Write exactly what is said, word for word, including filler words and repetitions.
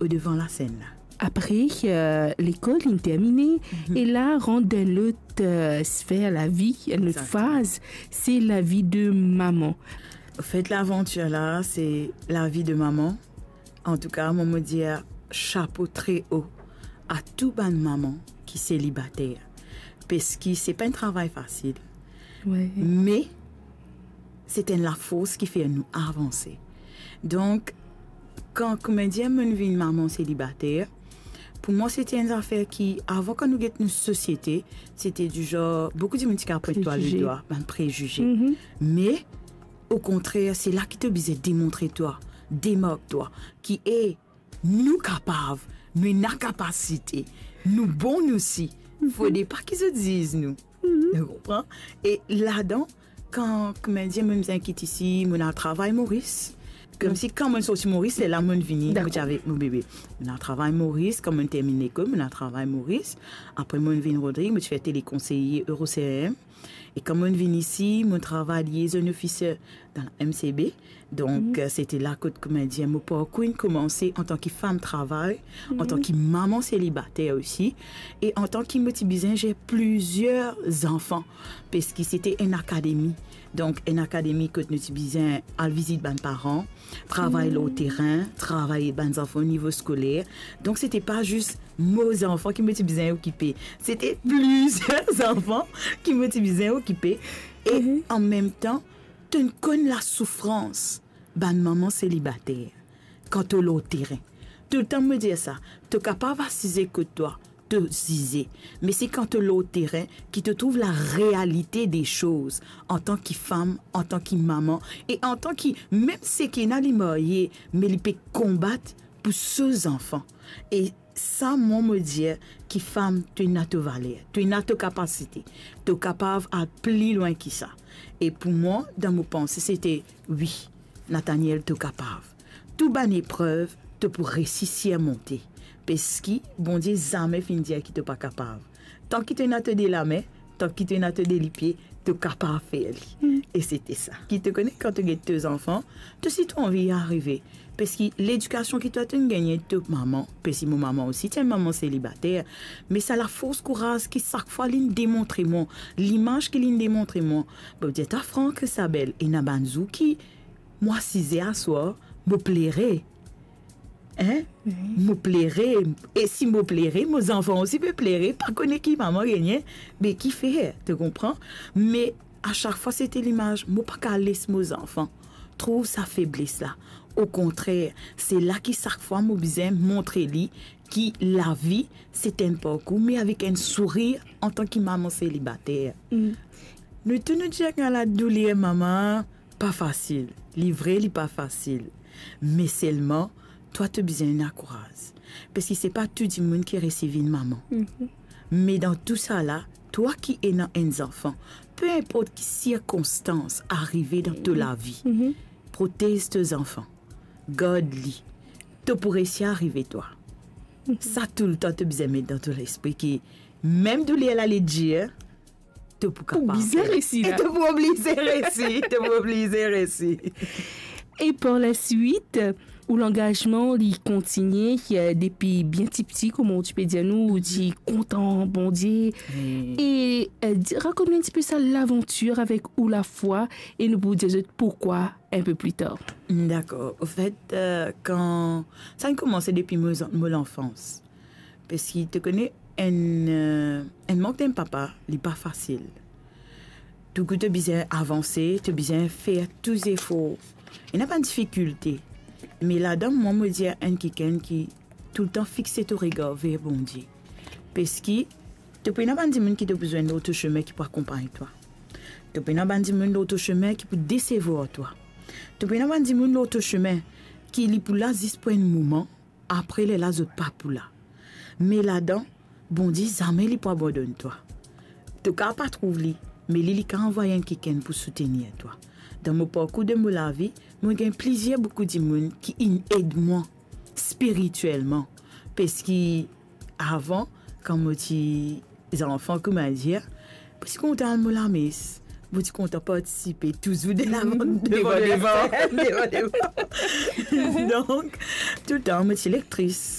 o devan lasenn la. Apre, eh, lekol inn termine, e la rant dan enn lot, eh, sfer lavi, enn lot faz, se lavi de mama. Anfet, lavantir la, se lavi de mama. Antouka, mo, mo dir chapo tre o a tou bann mama ki selibater. Parski se pa enn travay fasil. Me se enn lafors ki fer nou avanse. Donk, kan, koumadir, mo'nn vinn mama selibater, pou mwa, se ti enn zafer ki, avan, kan nou get nou sosiete, se ti dizon, boukou dimoun ti kav pwint twa ledwa, bann prezize. Me, okontrer, se la ki to bizin demontre twa, demark twa, ki, e, nou kapav, nou ena kapasite, nou bon osi. Fode pa ki zot ziz nou. Ou konpran? E ladan, kan, koumadir, mo'nn bizin kit isi, mo'nn al travay Moris. Komsi kan mo'nn sorti Moris, se la mo'nn vini, mo ti avek mo bebe. Mo'nn al travay Moris, kan mo'nn terminn lekol, mo'nn al travay Moris. Apre, mo'nn vinn Rodrig, mo ti fer telekonseye Euro C R M. E kan mo'nn vinn isi, mo'nn travay liaison officer dan la M C B. Donk, eh, se ti la kot, koumadir, mo parkour inn koumanse antan ki fam travay, antan ki mama selibater osi, e antan ki mo ti bizin zer plizier zanfan, parski se ti enn akademi. Donk, enn akademi kot nou ti bizin al vizit bann paran, travay lor terin, travay bann zanfan o nivo skoler. Donk, se ti pa zis mo zanfan ki mo ti bizin okipe. Se ti plizier zanfan ki mo ti bizin okipe. E an mem tan, to'nn konn lasoufrans bann mama selibater. Kan to lor terin, toultan mo dir sa, to kapav asize kot twa, to zize. Me se kan to lor terin ki to trouv larealite de soz, antan ki fam, antan ki mama, e antan ki mem seki ena li marye, me li pe konbat pou so zanfan. E sa, mwa, mo dir ki fam, to ena to valer, to ena to kapasite, to kapav al pli lwin ki sa. E pou mwa, dan mo panse, se ti, wi, Nathaniel, to kapav. Tou bann eprev, to pou resi sirmonte. Parski Bondie zame finn dir ki to pa kapav. Tanki to ena to de lame, tanki to ena to de lipie, to kapav fer li. E se ti sa. Ki to kone, kan to get to zanfan, to osi to anvi arive. Parski ledikasion ki twa to'nn gagne to mama, parski mo mama osi ti enn mama selibater, me sa lafors kouraz ki sak fwa li'nn demontre mwa, limaz ki li'nn demontre mwa, mo dir twa fran, Christabel, ena bann zour ki mo asize aswar, mo plere. Hein? Mo plere. E si mo plere, mo zanfan osi pe plere, pa kone ki mama gagne, be kifer, to konpran? Me a sak fwa se ti limaz, mo pa kav les mo zanfan trouv sa febles la. Okontrer, se la ki sak fwa mo bizin montre li ki lavi se enn parkour, me avek enn sourir antan ki mama selibater. Nou tou nou dir ki ena ladouler mama, pa fasil. Li vre, li pa fasil. Me selman, twa to bizin ena kouraz. Parski se pa tou dimoun ki resi vinn mama. Me dan tou sa la, twa ki ena enn zanfan, pe inport ki sirkonstans arive dan to lavi, protez to zanfan. Gard li. To pou resi arive twa. Sa toultan to bizin met dan to lespri ki mem douler la li dir, to pou kapav bizin fer. Resi la. E to pou oblize resi, to pou oblize resi. E par laswit, ou langazman, li kontinie, eh, depi bien tipti, kouma ou ti pe dir nou, ou ti kontan Bondie. E, eh, di, rakont nou enn tipe sa lavantir avek ou lafwa, e nou pou dir zot poukwa enn pe pli tar. Dakor. Anfet, eh, kan, sa inn koumanse depi mo, mo lanfans. Parski to kone, enn, eh, enn mank d'enn papa, li pa fasil. Touzour to bizin avanse, to bizin fer tou zefor. Ena bann difikilte. Me ladan, mwa, mo dir enn kikenn ki toultan fixe to regar ver Bondie. Parski to pou ena bann dimoun ki to pou zwenn lor to sime ki pou akonpagn twa. To pou ena bann dimoun lor to sime ki pou desevwar twa. To pou ena bann dimoun lor to sime ki li pou la zis pou enn moman, apre lerla zot pa pou la. Me ladan, Bondie zame li pou abandonn twa. To kav pa trouv li, me li, li kav anvway enn kikenn pou soutenir twa. Dan mo parkour de mo lavi, mo gagn plizier boukou dimoun ki inn ed mwa spiritielman. Parski avan, kan mo ti zanfan, koumadir, mo ti kontan al mo lames, Mo ti kontan partisipe touzour de la, devan, devan, devan, devan. Donk, toultan, mo ti lektris.